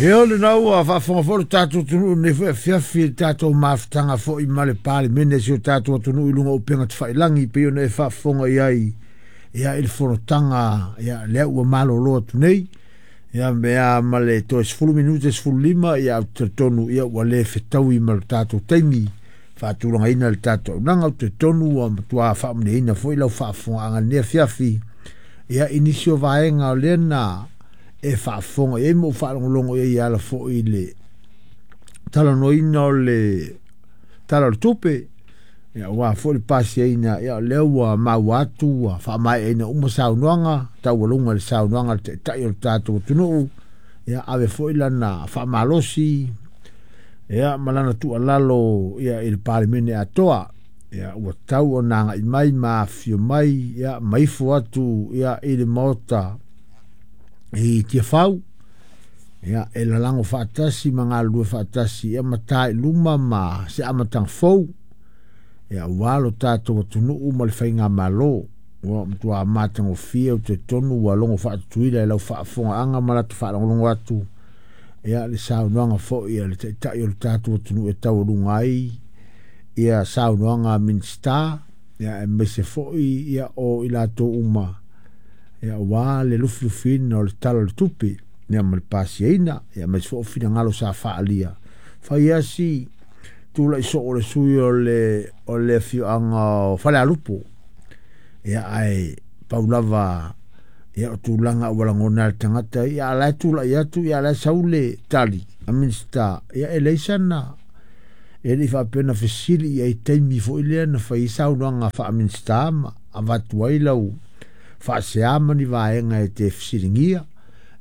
Ia o lena ua faafofoga foi lo tatou atunuu i lenei foi afiafi i le tatou mafutaga foi ma le Palemene a si o tatou atunuu i luga o upega tafailagi pei ona e faafofoga i ai ia i le fonotaga ia lea ua malolo atu nei. Ia mea ma le toe 10 minute 15 ia ou te talitonu ia ua le fetaui ma le tatou taimi faatulagaina le tatou auaunaga. Ou te talitonu ua matua faamanuiaina foi lau faafofogaaga i lenei afiafi ia i nisi o vaega o lea na e faafofoga i ai ma ou faalogologo i ai e ala foi i le talanoaina o le Tala o le Tupe, ia aua foi le pasiaina, ia o lea ua maua atu ua faamaeaina uma saunoaga, taualuga i le saunoaga a le Taitai o le tatou atunuu, ia ave foi lana faamalosi ia ma lana tuualalo ia i le Palemene atoa. Ia ua tau ona agai mai ma afifio mai ia ma ifo atu ia i le Maota i Tiafau ia e lalago faatasi ma galulue faatasi ia ma ta i luma ma se amataga fou ia aua lo tatou atunuu ma le faigamalo. Ua matua matagofie ou te talitonu ua logo faatutuila i lau faafofogaaga ma lata faalogologo atu ia le saunoaga foi a le Taitai o le tatou atunuu e taualuga ai ia saunoaga a Minisita ia aemaise foi ia o i latou uma ia aua le lufilufiina o le Tala o le Tupe ia ma le pasiaina ia aemaise foi o finagalo sa faaalia. Fai lava si tulai soo o le sui o le o le afioaga o Falealupo ia ae pau lava ia o tulaga ua lagona e le tagata ia a la e tulai atu ia a la e sau le tali a Minisita ia e leai sana e le i faapea na fesili i ai i taimi foi lea na fai ai saunoaga faa-Minisita ma avatu ai lau faasea ma ni vaega e te fesiligia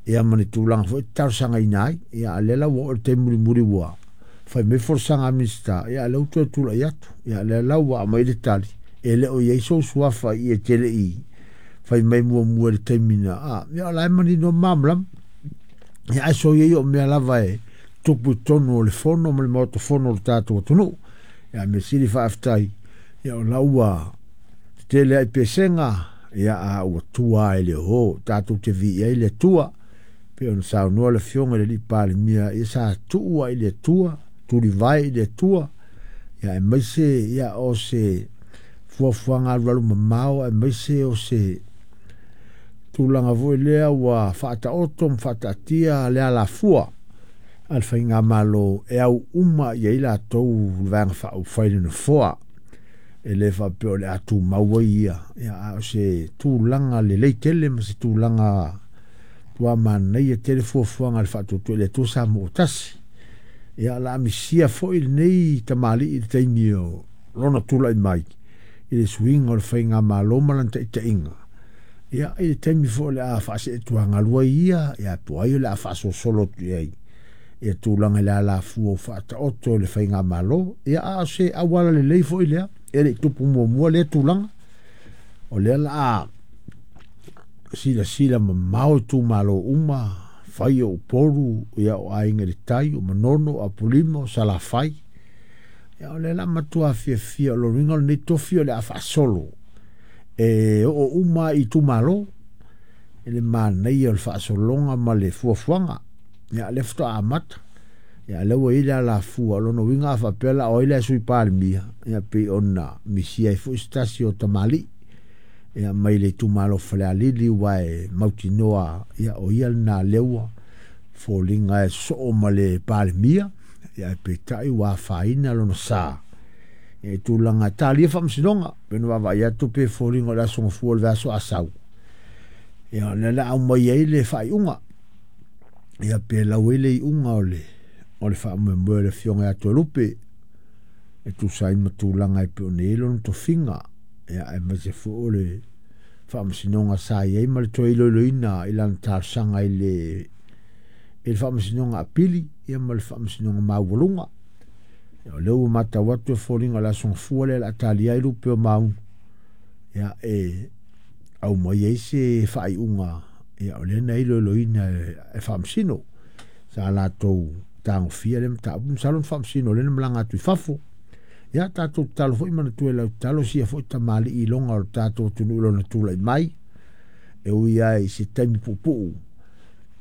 ia ma ni tulaga foi e te talosagaina ai. Ia a o lea la ua oo i le taimi mulimuli ua fai mai folasaga a Minisita, ia a o lea ua toe tulai atu. Ia o lea la ua aumai le tali, e le o i ai sou suafa i e te le i fai mai muamua i le taimi na, a, ia o la e manino ma malamalama. Ia ae soia ia o mea lava e tupu i totonu o le fono ma le Maota Fono o le tatou atunuu. Ia mea sili faafetai, ia o la ua tetele lava i pesega, ia a ua tua lava i le o, tatou te viia ai le Atua. Pei ona saunoa le Afioga i le Palemia, ia sa tuu lava i le Atua, tulivae i le Atua, ia aemaise ia o se fuafuaga alualu mamao, aemaise o se tulaga foi lea ua faataoto ma faataatia le alafua a le faigamalo e au uma i ai latou le Vaega Faaupufai i le Nofoa. E le faapea o le a tumau ai ia, ia a o se tulaga lelei tele ma se tulaga matua manaia tele fuafuaga a le Faatuatua i le Atua Samoa ua tasi. Ia o le a misia foi lenei tamalii i le taimi o lona tulai mai i le suiga o le faigamalo ma lana taitaiga. Ia, i le taimi foi o le a faaseetuagalu ai ia, ia po o ai o le a faasolosolo atu i ai ia tulaga i le alafua ua faataoto e le faigamalo. Ia, a o se auala lelei foi lea, e le i tupu muamua lea tulaga. O lea la a silasila mamao itumalo uma, fai o Upolu, ia o Aiga i le Tai, o Manono, o Apolima, o Salafai. Ia o lea la matua fiafia o lona uiga o lenei tofi o le a faasolo e oo uma i itumalo i le manaia o le faasologa ma le fuafuaga. Ia lea faatoa amata. Ia lea ua i ai le alafua, o lona uiga a faapea la o ai le Sui Palemia, ia pei ona misia ai foi se tasi o tamalii ia mai le itumalo Falealili ua e mautinoa ia o ia lena lea ua foliga e sosoo ma le Palemia, ia ae peitai ua afaina lona sa ia i tulaga e talia faamasinoga. Pei ona vaavaai atu pe foliga o le Aso Gafua o le vaiaso a sau, ia o lea la aumai ai le faaiuga, ia pe lau ai le iuga o le o le faamoemoe o le afioga ia Toelupe e tusa ai ma tulaga e pei ona i ai lona tofiga, ia aemaise foi o le faamasinoga sa i ai ma le toe iloiloina i lana talosaga i le i le faamasinoga apili ia ma le faamasinoga maualuga. Ia, o lea ua matau atu e foliga o le Aso Gafua lea o le a talia ai lupe o Maunu, ia e aumai ai se faaiuga, ia o lea na iloiloina e faamasino sa latou tagofia lea mataupu. Masalo na faamasino lea na malaga atu i fafo. Ia tatou tatalo foi manatua i lau tatalo sia foi tamalii iloga o le tatou atunuu i lona tulai mai e ui lava i se taimi puupuu,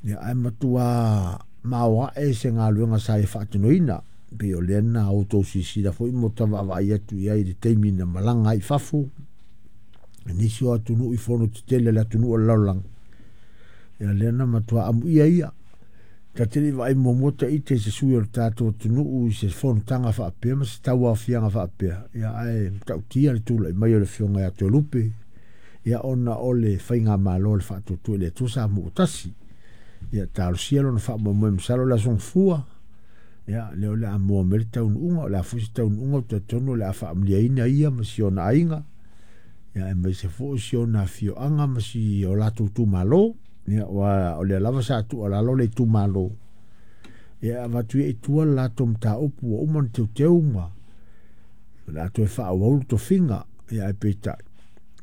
ia ae matua maoae se galuega sa ia faatinoina. E pei o lea na outou silasila foi ma ta vaavaai atu i ai i le taimi na malaga ai i fafo i nisi o atunuu i fono tetele a le atunuu o le lalolagi. Ia lea na matua amuia ia. Ta te le i vaai muamua ta ite i se sui o le tatou atunuu i se fonotaga faapea ma se tauaofiaga faapea, ia ae matautia le tulai mai o le Afioga ia Toelupe, ia ona o le faigamalo a le Faatuatua i le Atua Samoa ua Tasi. Ia talosia lona faamoemoe masalo o le Aso Gafua, ia lea o le a maua mai le taunuuga, o le a foi se taunuuga ou te talitonu o le a faamanuiaina ia ma si ona aiga, ia aemaise foi si ona afioaga ma si o latou itumalo. Ia, aua o lea lava sa tuualalo le itumalo, ia e avatu ia i tua le latou mataupu ua uma ona teuteu ma o le a toe faaauau le tofiga. Ia ae peitai,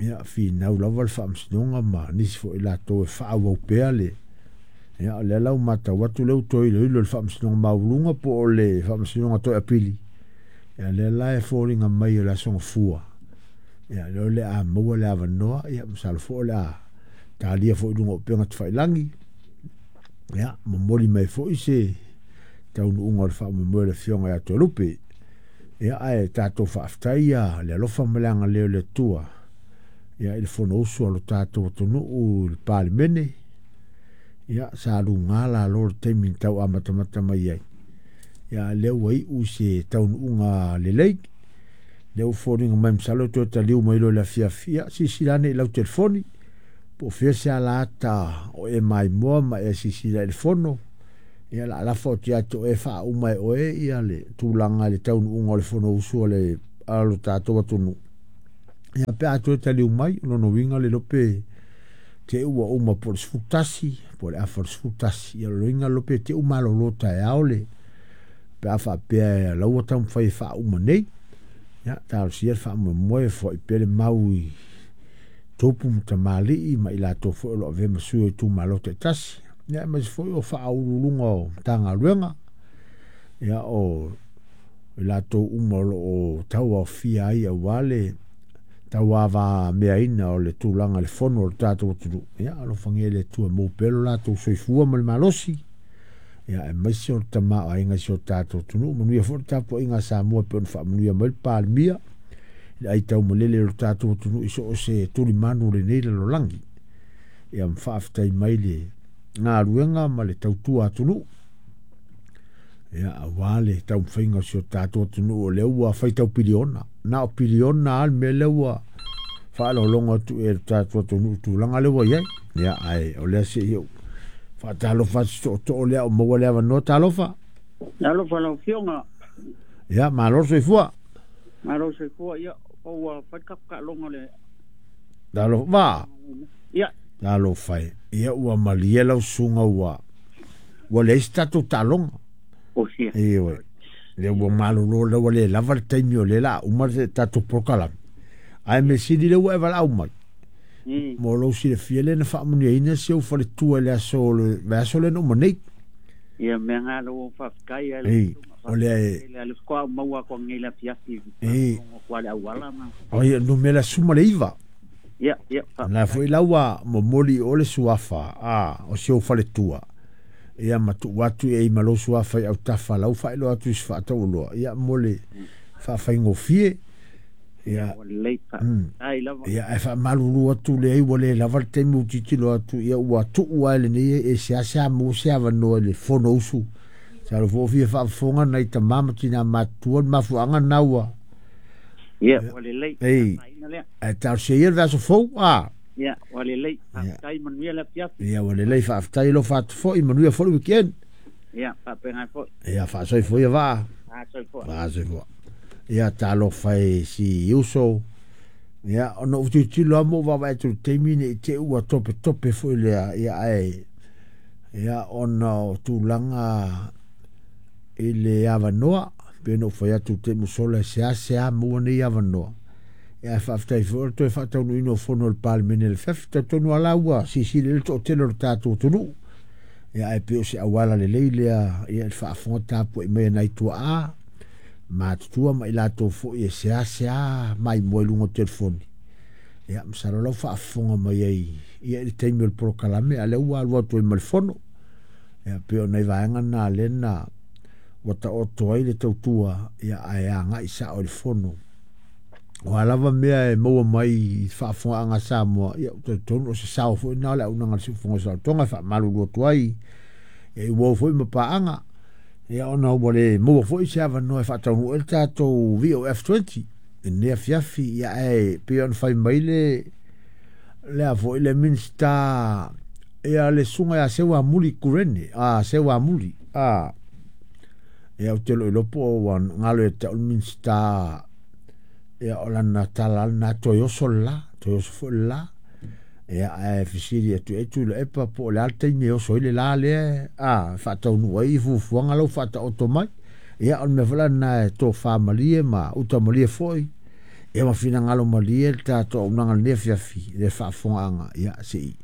ia finau lava le faamasinoga ma nisi foi latou e faaauau pea le. Ia o lea la ua matau atu lea ua toe iloilo e le Faamasinoga Maualuga po o le Faamasinoga Toe Apili. Ia lea la e foliga mai o le Aso Gafua, ia lea o le a maua le avanoa, ia masalo foi o le a talia foi i luga o upega tafailagi, ia momoli mai foi se taunuuga o le faamoemoe o le Afioga ia Toelupe. Ia ae tatou faafetai ia le alofa ma le agalelei o le Atua ia i le Fonousu a lo tatou atunuu i le Palemene. Ia sa luga lalo le taimi na tau amatamata mai ai. Ia a lea ua iu i se taunuuga lelei. Lea ua foliga mai masalo e toe taliu mai loa i le afiafi. Ia silasila ane i lau telefoni po o fea se alaata o e maimoa ma e silasila i le fono. Ia o le a lafo atu ia te oe e faauma e oe ia le tulaga i le taunuuga o le Fonousu a lo tatou atunuu. Ia pe a toe taliu mai, o lona uiga le iloa pe te i ua uma po o le 11 po o le afa o le 11. Ia o lona uiga le iloa pe te i ua malolo taeao le pe a faapea o la ua taumafai e faauma nei. Ia talosia le faamoemoe e foai pea le mau i tupu ma tamalii ma i latou foi o lo o avea ma sui o itumalo taitasi. Ia aemaise foi o faauluuluga o Matagaluega, ia o i latou uma o lo o tauaofia ai aua le tauavameaina o le tulaga i le fono a le tatou atunuu. Ia alofagia e le Atua e maua pea lo latou soifua ma le malosi, ia aemaise o le tamaoaiga i si o tatou atunuu. Manuia foi le tapuaiga a Samoa e pei ona faamanuia mai le Palemia i le aitaumalele o le tatou atunuu i so o se tulimanu o lenei lalolagi. Ia ma faafetai mai le galuega ma le tautua atunuu. Ia, aua le taumafaiga o si o tatou atunuu o lea ua faitau piliona. Na o piliona lava le mea lea ua faalogologo atu e le tatou atunuu i tulaga lea ua i ai. Ia, ae o lea se i ou faatalofa atu tootoo lea o maua le avanoa. Talofa. Talofa lau Afioga. Ia, malo le soifua. Malo le soifua. Ia, ua fai le tatou taaloga le. Talofa. Ia. Talofa e. Ia, ua malie lau susuga ua ua leai se tatou taaloga. Osia. Ioe. Lea ua malolo lea ua le lava le taimi o lea la uma le tatou polokalame. Ae mea sili lea ua e valaau mai. Mo lou silafia lea na faamanuiaina si ou faletua i le aso o le vaiaso lea na uma nei. Ia mea nga lo faafetai ai. Ei, o lea e le faatoa ou maua atu nei le afiafi. Ei. Kwa le auala ma. O ia numera 19. Ia, ia. Na foi la ua momoli o le suafa a o si ou faletua. Ia ma tuu atu e i ma lou suafa i autafa lau faailoa atu i se faataualoa. Ia mo le faafaigofie. Ia, Ua lelei faafetai lava. Ia, ae faamalulu atu leai ua le lava le taimi ua tilotilo atu, ia ua tuu lava e lenei e seasea maua se avanoa i le Fonousu. Masalo foi ua fia faafofoga nai tama ma tina matutua le mafuaaga lena ua. Ia, ua lelei. Ei, Faafetai lea. ae talosia ia le vaiaso fou, a. Ia, ua lelei. Faafetai, manuia le afiafi. Ia, ua lelei, faafetai alofa atu foi, manuia foi le weekend. Ia, faapena foi. Ia, faasoifua ia vaa. Faasoifua. Faasoifua. Ia, talofa e si uso. Ia, ona ou tilotilo lava ma ou vaavaai atu i le taimi ne i te i ua topetope foi lea, ia ae, ia ona o tulaga i le avanoa, pei ona ou fai atu i le taimi ua sola e seasea maua nei avanoa. Ia ae faafetai foi o le toe faataunuuina o fono a le Palemene i le afiafi. Talitonu lava la ua silasila i ai le toatele o le tatou atunuu. Ia ae pei o se auala lelei lea ia i le faafofoga tapuai mai a nai tuaa matutua ma i latou foi e seasea maimoa i luga o telefoni. Ia masalo la ua faafofoga mai ai ia i le taimi o le polokalame, a o lea ua alu atu ai ma le fono. Ia pei o nai vaega na lea na ua taoto ai le tautua, ia ae agai sao i le fono. O a lava mea e maua mai i faafofogaaga a Samoa, ia ou te talitonu o se sao foi lena o le auaunaga a le Siufofoga o Saolotoga e faamalulu atu ai, ia i uo foi ma paaga, ia ona ua le maua foi se avanoa e faataunuu ai le tatou VOF20 i lenei afiafi, ia ae pei ona fai mai le lea foi le Minisita ia le susuga ia Seuamuli Kurene, a Seuamuli, a ia ou te le o iloa po o ua galo ia te au le Minisita ia o lana tala lena toe oso le la, toe oso foi le la. Ia ae fesili atu ai Tuilaepa po o le a le taimi e oso ai le la lea a faataunuu ai fuafuaga lau faataoto mai. Ia o le mea foi la lena e tofa malie ma uta malie foi ia ma finagalo malie le tatou auaunaga i lenei afiafi i le faafofogaaga ia se i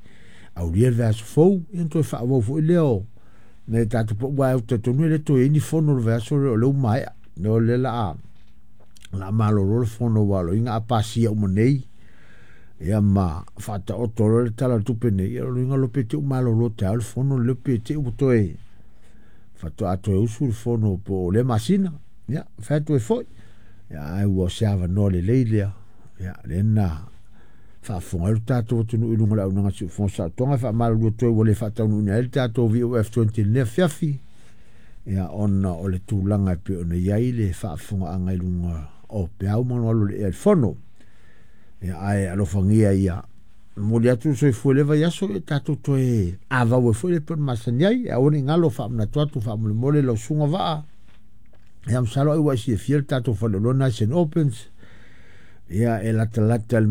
aulia le vaiaso fou ia ona toe faaauau foi lea o nai tatou aua ou te talitonu e le toe i ai ni fono o le vaiaso lea o lea ua maea. O lea o le a malolo le fono aua o loiga a pasia uma nei ia ma faataoto loa le Tala o le Tupe nei, ia o loiga loa pe te i ua malolo taeao le fono lea pe te i ua toe faatoa toe usu le fono po o lea masina. Ia, fai atu ai foi, ia ae ua se avanoa lelei lea, ia lea na faafofoga ai lo tatou atunuu i luga o le auaunaga a le Siufofoga o Saolotoga. E faamalulu atu ai ua le faataunuuina ai le tatou VOF20 i lenei afiafi, ia ona o le tulaga e pei ona i ai le faafofogaaga i luga o peau ma galugalu o le ea i le fono. Ia ae alofagia ia momoli atu le soifua i lea vaiaso, ia tatou toe avau ai foi le pei ona masani ai. Aua ne i galo faamanatu atu faamolemole lau susuga Vaa. Ia masalo ai ua e silafia le tatou faleoloa lena i St. Albans. Ia e latalata i le